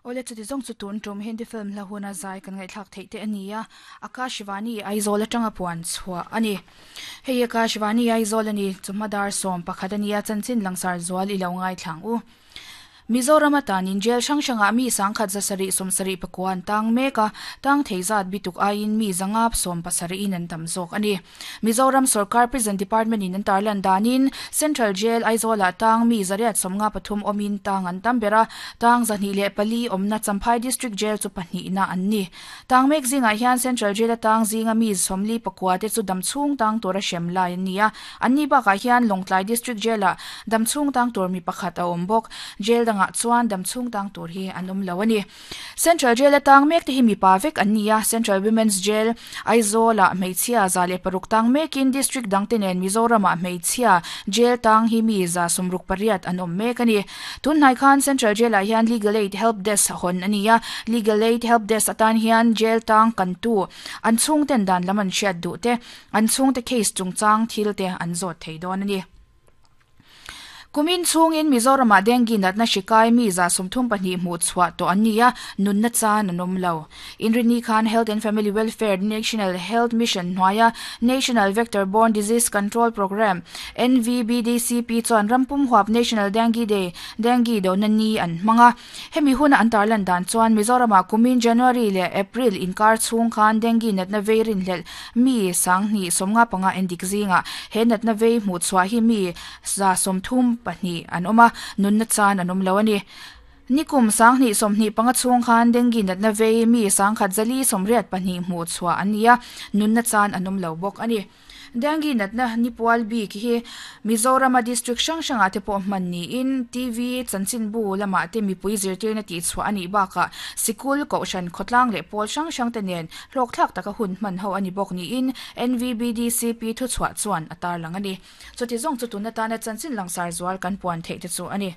Awle chuti zawng chu tun tum Hindi film hla huna zai kan ngaihthlak theih te a ni a, Akashvani Aizawl atanga puan chhuah a ni. Hei Akashvani Aizawl a ni, chawhma dar 11 a nia, chanchin langsar zual i lo ngaithlang u. Mizoram atanin jail hrang hrangah mi sangkhat zasarih sawmsarih pakua an tang mek a, tang thei zat bituk aiin mi zanga sawmpasarih in an tam zawk a ni. Mizoram sorkar Prison Department in an tarlan danin Central Jail Aizawl-ah tang mi zariat 53 awmin tang an tam ber a, tang 204 awmna Champhai District Jail chu pahnihna an ni. Tang mek zingah hian Central Jail a tang zinga mi 44 te chu damchhung tang tura hrem lai an ni a, Anni bakah hian Lawngtlai District Jail-ah damchhung tang tur mi pakhat a awm bawk. Jail dangah chuan damchhung tang tur hi an awm lo a ni. Central Jail-a tang mek te hi mipa vek an ni a, Central Women's Jail, Aizawl-ah hmeichhia 106 tang mekin District dangte nen Mizoram-ah hmeichhia Jail tang hi mi 68 an awm mek a ni. Tunhnai khan Central Jail-ah hian Legal Aid Help Desk hawn a ni a, Legal Aid Help Desk atan hian Jail tang kantu an chhungten dan lam an hriat duh te, An chhungte case chungchang thil te an zawt thei dawn a ni. Kumin chhungin Mizoramah dengue natna hri kai mi 34 hmuh chhuah tawh an ni a, nunna chan an awm lo. Inrinni khan Health and Family Welfare National Health Mission hnuaia National Vector Borne Disease Control Programme, NVBDCP, chuan rampum huap National Dengue Day, Dengue dona ni, an hmang a. Hemi huna an tarlan dan chuan Mizoramah kumin January leh April inkar chhung khan dengue natna vei rinhlelh mi 1055 endik zingah he natna vei hmuh chhuah hi mi 32 an awm a, nunna chan an awm lo a ni. Nikum 2025 chhung khan dengue natna vei mi 1184 hmuh chhuah an ni a, nunna chan an awm lo bawk a ni. Dengue natna nipual bik hi Mizorama district hrang hrangah te pawh hman niin TV chanchinbu lamah te mipui zirtirna tihchhuah a nih bakah sikul, kohhran, khawtlang leh pawl hrang hrang te nen hlawkthlak taka hun hman ho a ni bawk niin NVBDCP thuchhuah chuan a tarlang a ni. Chuti zawng chu tun atana chanchin langsar zual kan puan theih te chu a ni.